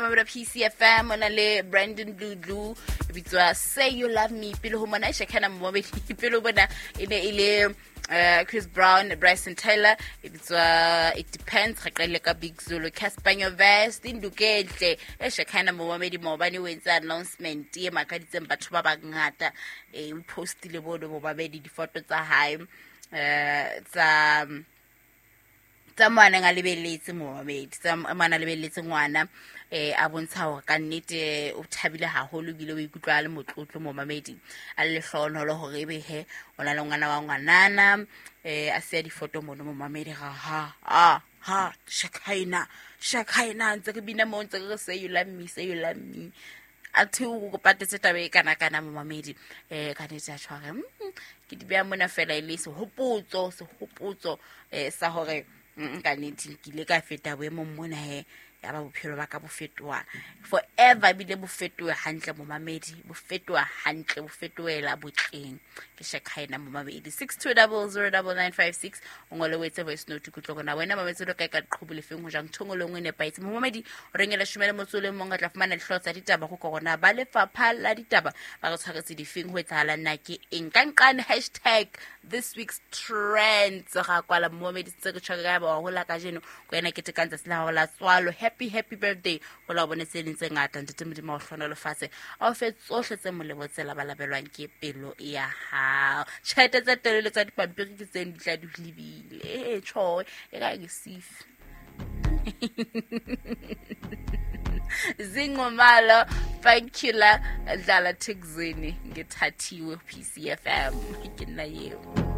Momamedi wa PCFM, o na le Brandon Blue e bitswa Say You Love Me. Pele ho mona e Shekana momamedi, pele ho bona e ne e le Chris Brown, Bryson Taylor e bitswa It Depends. Re qadile ka Big Zulu, Casper Nyovest, Ndukehle e Shekana momamedi. Maobane o entse announcement e makaditseng batho ba bangata, o postile bono momamedi difoto tsa hae tsa tsa mo a neng a lebelletse momamedi, tsa mo a neng a lebelletse ngwana, a bontsha hore ka nnete o thabile haholo ebile o ikutlwa a le motlotlo momamedi, a le lehlohonolo hore ebe he o na le ngwana wa ngwanana, a siya difoto mono momamedi. Ga ha ha ha, Shakaina, Shakaina, ntse re bina mo, ntse re re say you love me, say you love me. A the o patetse taba e kana kana momamedi, ka nnete a tshware ke di beha mona fela e le sehopotso, sehopotso sa hore ka nnete ke ile ka feta boemong mona he, ya ba bophelo ba ka bo fetoha forever, ebile bo fetohe hantle momamedi, bo fetoha hantle, bo fetohela botleng. Ke Shakaina momamedi. 62009956, o ngole o etse voice note, kutlwe kona wena mametse lo kae ka qhubu lefeng ho jang thongo le nngwe e nepahetse momamedi. O rengela shome le motso o le mong, re tla fumana dihlooho tsa ditaba go korona ba lefapha la ditaba ba re tshwaretse difeng, ho etsahalang na ke eng ka nqane #ThisWeek'sTrends. Ga kwala momamedi, tse re tshware ka ba wa hola kajeno ko wena ke tekang tsatsi la hao la tswalo. Happy, happy birthday, ho la o bone tse ding tse ngata. Ntate Modimo wa o hlohonolofatse, a o fe tsohle tse molemo tse labalabelwang ke pelo ya hao. Tjhelete tse telele tsa dipampiri ke tseng di tla di lebile e tjho e ka ke sifi Zingomalo Funkula dlala Thekzini, ngithathiwe PCFM, ke nna eo.